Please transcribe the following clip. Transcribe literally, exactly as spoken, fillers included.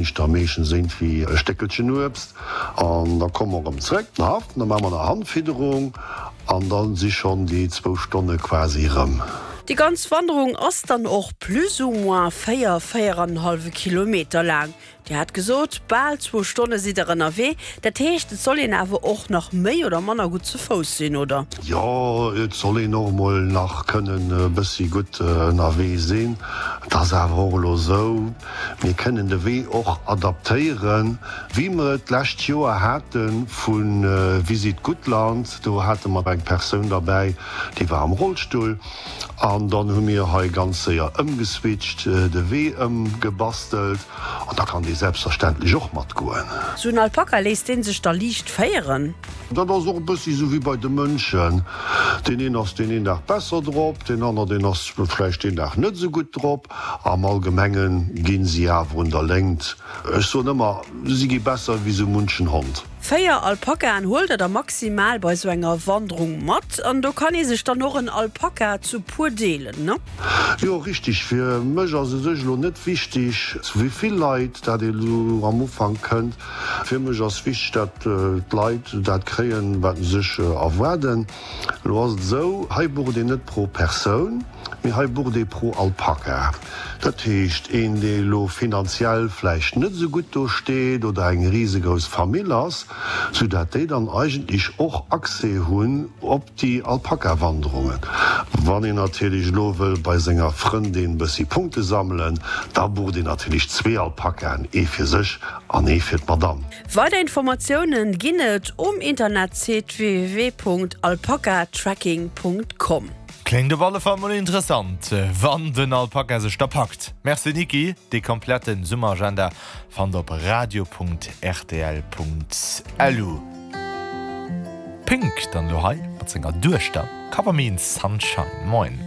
ech da meeschtens iergendwéi e Stéckelchen Uebst an da komme mer erëm zréck den Haff, da maache mer nach Handfidderung an da si schonn déi zwou Stonne quasi erëm. Déi ganz Wanderung ass dann och plus ou moins véier, véieranenhallwe Kilometer laang. Dir hat gesot, bal zwou Stonne sidd der ënnerwee. Dat heescht, et soll een awer och nach méi oder manner gutt ze Fouss sinn, oder? Jo, et soll een och emol nach kënnen e bëssi gutt ënnerwee sinn. Et ass awer och elo esou, mir kënnen de Wee och adaptéieren, wéi mer et d'lescht Joer hate vu Visit Guttland. Do hate mer eng Persoun derbäi, déi war am Rollstull. An dann hu mir hei ganz séier ëmgeswitcht, de Wee ëmgebastelt an da kann dee selbstverständlech och matgoen. Sou en Alpaka, léisst dee sech da liicht féieren? Dat ass och e bëssi sou wéi bei de Mënschen, deen een ass deen een Dag besser drop, deen aner deen ass vläicht deen Dag net sou gutt drop. Am Allgemenge ginn si awer un der Léngt. Ech soen ëmmer, si gi besser wéi sou munchen Hond. Véier Alpakaen huelt der da maximal bei sou enger Wanderung mat an do kann ee sech dann och en Alpaka zu puer deelen, ne? Jo, richteg. Fir mech ass u sech elo net wichteg, zu wéi vill Leit dat ee lo am Ufank kënnt. Fir mech ass wichteg, dat d'Leit dat kréien, wat se sech erwaarden. Elo ass et esou, hei bucht een net pro Persoun, mee hei bucht ee pro Alpaka. Dat heescht, een, dee elo finanziell vläicht net esou gutt do steet oder eng risegrouss Famill ass, soudatt déi dann eigentlech och Accès hunn op déi Alpaka-Wanderungen. Wann een natierlech elo wëll bei senger Frëndin bëssi Punkte sammelen, da bucht een natierlech zwee Alpakaen, ee fir sech an ee fir d'Madame. Weider Informatiounen ginn et um Internetsite www punkt alpakatracking punkt com. Kléngt op alle Fall mol interessant, wann den Alpaka sech da packt. Merci Niki, dee kompletten Summeragenda fannt der op radio punkt rtl punkt lu. Pink dann elo hei mat senger Duechter Cover Me in Sunshine. Moin.